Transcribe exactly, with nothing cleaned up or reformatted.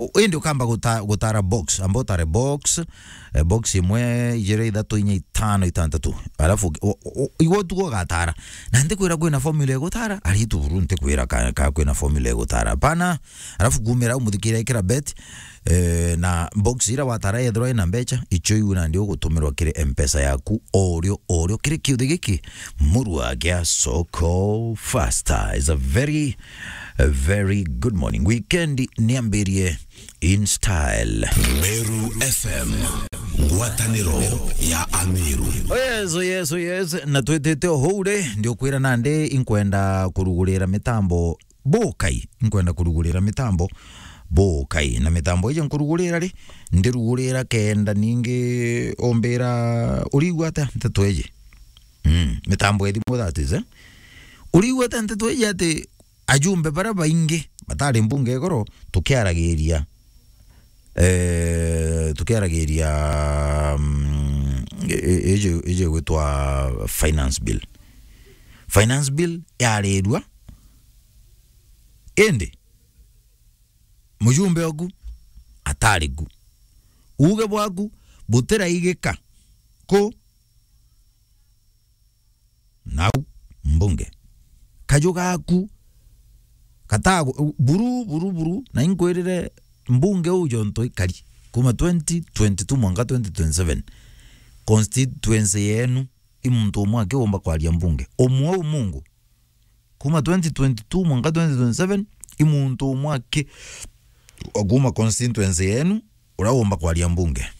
U-, indi ukamba guta-, gutara box, amba utare box, eh, box imwe, ijiri, ithatu, inya, itano, itantatu. Alafu u-, u-, u-, igwe utugo ugatara. Na ndikwira kwina formula igutara, ari tu buru ndikwira ka, ka kwina formula igutara. Pana, alafu kumira umuthikira ikira bet, eh, na box ira watara yethirwa ina mbecha, icho iu nandi ugutumirwa kiri M-Pesa yaku, orio, orio, kiri kiuthi giki, murua gia Soko Faster. Is a very, a very good morning. Weekend niambirie in style. Meru F M, ngwataniro ya Ameru. Oh yes, oh yes, oh yes. Na twitite o huu ri, ndiukwira nandi inkwenda kurugurira mitambo bukai, inkwenda kurugurira mitambo bukai. Na mitambo iji nkurugurira ri, ndirugurira kenda ningi umbira, urigua atia nteto iji? Mm, mitambo ya thimu, that is, eh? Urigua atia nteto iji ati ajumbe baria baingi batari mbunge igoro, tukiaragiria, eh, tukiaragiria, mm, i-, i-, iji, iji gwitwa finance bill. Finance bill yarirua, indi mujumbe oku atari ku. Uuge bwaku butiraigika ku nau mbunge. Kaju gaku katagu-, buru, buru, buru, na inkwirire mbunge uu jonto ikari kuma twenty twenty-two mwanka twenty twenty-seven, constituency yenu i muntu umwe aki umba kwaria mbunge. Umwe u Mungu. Kuma twenty twenty-two mwanka twenty twenty-seven, i muntu umwe aki wa kuma constituency yenu uria umba kwaria mbunge.